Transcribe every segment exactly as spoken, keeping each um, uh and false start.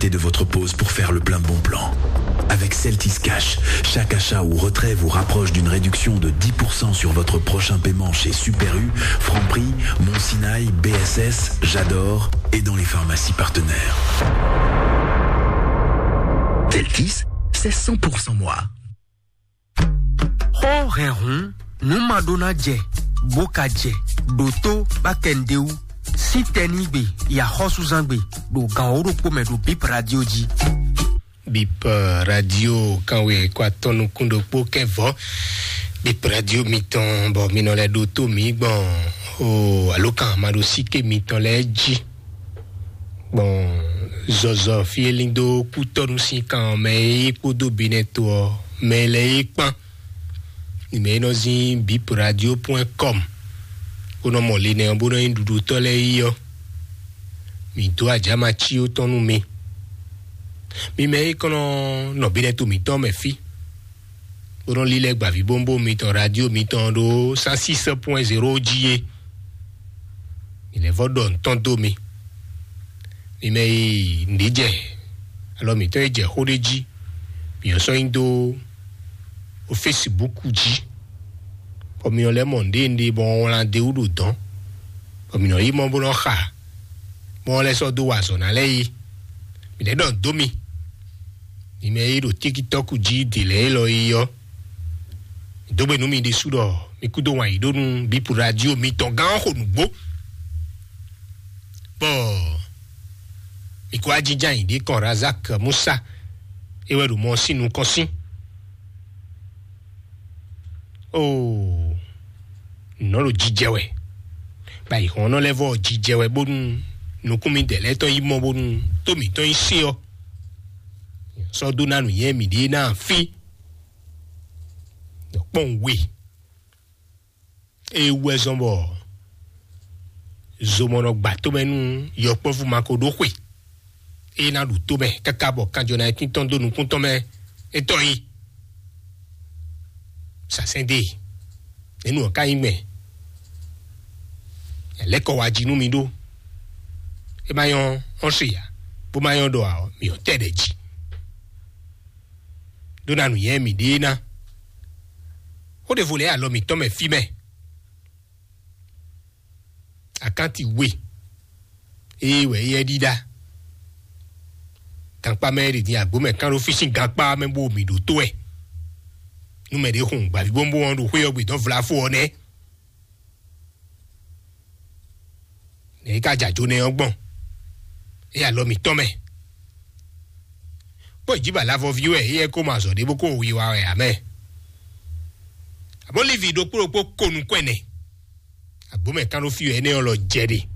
Profitez de votre pause pour faire le plein de bons plans. Avec Celtis Cash, chaque achat ou retrait vous rapproche d'une réduction de dix pour cent sur votre prochain paiement chez Super U, Franprix, Mon Sinaï, B S S, J'adore et dans les pharmacies partenaires. Celtis, c'est cent pour cent moi. Xó hɛn hǔn, nǔ ma ɖó ná jɛ, bó ka jɛ, ɖǒtó bá kɛ nǔɖé wú. Sín tɛnígbe, yaxɔ́súzángbe, ɖo gan wǒ ɖokpó mɛ ɖo Bip Radio jí. Bip Radio kanwe kó atɔ́ nukún ɖokpó kɛ́ vɔ̌. Bip Radio mitɔn bɔ mi nɔ lɛ́ ɖo tó mǐ gbɔn o alǒkan maɖosíké mitɔn lɛ́ɛ jí. Gbɔn zɔzɔ fí e lín dó kútɔ́nú sín kan ɔ́ mɛ é kpódó Benɛto ɔ́ mɛ lɛ́ɛ é kpán. Nǐ mɛ e nɔ zín bip radio point com bó nɔ mɔ linɛ ɔ́ bó nɔ nyí ɖuɖutɔ́ lɛ́ɛ yi ɔ́, mǐ dó ajǎma cí ó tɔn nú mi. Mi mɛ e kɔn nɔ nɔ Benɛto mǐtɔn mɛ fí bó nɔ lílɛ́ gbavǐbówúnbówún mitɔn radio mitɔn ɖó cent six point zéro jí é. Mi lɛ́ vɔ ɖɔ ntɔ́n dó mi. Mi mɛ e nǔɖé jɛ alɔ mǐtɔn e jɛ xó ɖé jí, mi ɔ́ sɔ́ nyi dó o Facebook jí, bɔ mi ɔ́ lɛ́ mɔ nǔɖé nǔɖé bɔ wlán d'é wú ɖo dɔ̌n, bɔ mi nɔ yí mɔ bó nɔ xa, bɔ wọ́n lɛ́ sɔ́ dó wa azɔ̌ ná lɛ́ɛ yi. Mi lɛ́ ɖɔ dó mi. Mi mɛ e ɖo TikTok jí dě lɛ́ɛ élɔ́ yi ɔ́, dó gbe nú mi ɖésú ɖɔ mi kúdó wǎn yí ɖó nú bípu radio mitɔn gán ɔ́ xo nǔgbó. Bɔ mi kó ajínján yǐ ɖě kɔn Razak Musa é wɛ ɖo mɔ sín nukɔn sín. Oo, nɔ́ ɖo jijɛ wɛ, bɔ ayǐhɔ́nnɔ lɛ́ɛ vɔ jijɛ wɛ bónú nukún mi dɛ lɛ́ɛ tɔn yi mɔ bónú tó mǐtɔn yi se ɔ́, sɔ́ dó ná nǔnywɛ́ mǐɖée ná fí. Kpɔ́n we. Ée wú wɛ zɔ́n bɔ zomɔnɔ gba tomɛ nú yɔkpɔ́vú ma ko ɖó xwe, ée ná ɖu tomɛ káká bɔ kanjɔ ná tɔn dó nukún tɔn mɛ é tɔn yi. Sasɛn ɖe nɛnu ɔ́ ka nyí gbɛn. Yɛ lɛ́ kɔ wá jí nú mi ɖó. É má nyɔ́ ɔ́n se ya, bó má nyɔ́ ɖɔ ǎ ɔ́, mi ɔ́ tɛ ɖɛ jí. Ɖó ná nǔnywɛ́ mǐɖée ná. Xó ɖěvo lɛ́ɛ alɔ mǐtɔn mɛ fí mɛ. Akánti we ée wɛ éyɛ́ ɖíɖá. Gankpá mɛ ɖi din agbǒ mɛ kán ɖó fí sín gankpá mɛ bó mǐ ɖótó wɛ. Nú mɛ ɖě hun gbavǐbówúnbówún ɔ́ ɖo xwé ɔ́ gbe dɔn vlafó ɔ́ nɛ́. Nɛ̌ é ka jɛ ajo nɛ ɔ́ gbɔn? É alɔ mǐtɔn mɛ. Kpó jǐ ba lavɔví wɛ éyɛ́ kó ma azɔ̌ ɖé bó kó wiwa wɛ ǎ mɛ. Abó Livi ɖokpó ɖokpó ko nukún ɛnɛ. Agbǒ mɛ kán ɖó fí wɛ énɛ́ ɔ́ lɔ jɛ ɖe.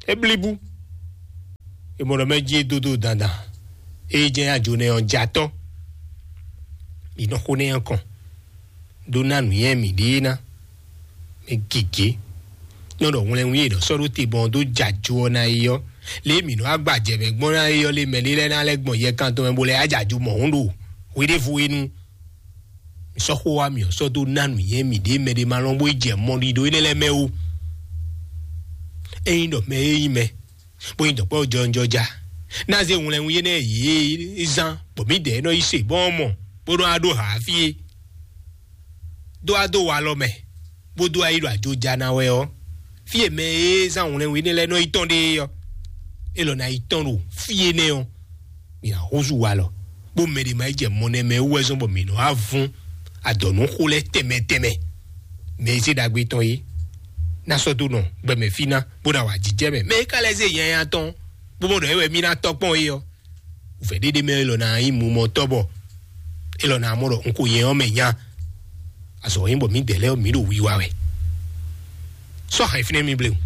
É blíbú. É mɔ ɖɔ mɛ jí é dó dó dandan. É jɛ ajo nɛ ɔ́ jɛ atɔ́. Mǐ nɔ xó nɛ́ ɔ́ kɔn. Ɖó ná nǔnywɛ́ mǐɖée ná. Mɛ gěgé nɔ ɖɔ hwlɛnwún e è nɔ sɔ́ ɖó te bɔ ɔ́ dó jɛ ajo ɔ́ ná é ɔ́, lě e mǐ nɔ wá gba jɛ mɛ gbɔn ná é ɔ́, lě mɛ ɖé lɛ́ɛ ná lɛ́ gbɔn yɛkan tɔn mɛ bó lɛ́ wá jɛ ajo mɔ̌hun ɖo hweɖévo é nu. Mǐ sɔ́ xó wá mǐ ɔ́ sɔ́ dó ná nǔnywɛ́ mǐɖée mɛ ɖé ma lɔn bó yi jɛ mɔ ɖiɖo énɛ́ lɛ́ɛ mɛ ó. Ényí ɖɔ mɛ e nyí mɛ bó nyí dɔ̌nkpɛ́vú jɔnjɔja ná zé hwlɛnwún énɛ́ yě zán bɔ mǐdɛɛ nɔ yi se bɔ́ mɔ bó nɔ wá ɖó hǎ fí é. Dó wá dó walɔ mɛ, bó dó wá yi ɖo ajoja ná wɛ ɔ́, fí e mɛ e zán hwlɛnwún énɛ́ lɛ́ɛ nɔ yi tɔn ɖe é ɔ́, é lɔ ná yi tɔn ɖo fí énɛ́ ɔ́. Mǐ ná húzú walɔ, bó mɛ ɖě ma yi jɛ mɔ nɛ́ mɛ wú wɛ zɔ́n bɔ mǐ nɔ wá vún adɔ̌núxó lɛ́ɛ tɛnmɛ tɛnmɛ. Mɛ e zé ɖagbe tɔn é ná sɔ́ dó nɔ gbɛmɛ fí ná, bó ná wa jijɛ mɛ. Mɛ e ka lɛ́ zé nyanya tɔn, bó mɔ ɖɔ é wɛ mí ná tɔ́ kpɔ́n é ɔ́, wǔvɛ́ ɖéɖé mɛ élɔ́ ná nyí mumɔtɔ́ bɔ élɔ́ ná mɔ ɖɔ un ko nyɛ ɔ́ mɛ nya. Azɔ̌ nyí bɔ mǐdɛɛ lɛ́ɛ mǐ ɖo wiwa wɛ. Sɔ́ hɛn fínɛ́ mi blewú.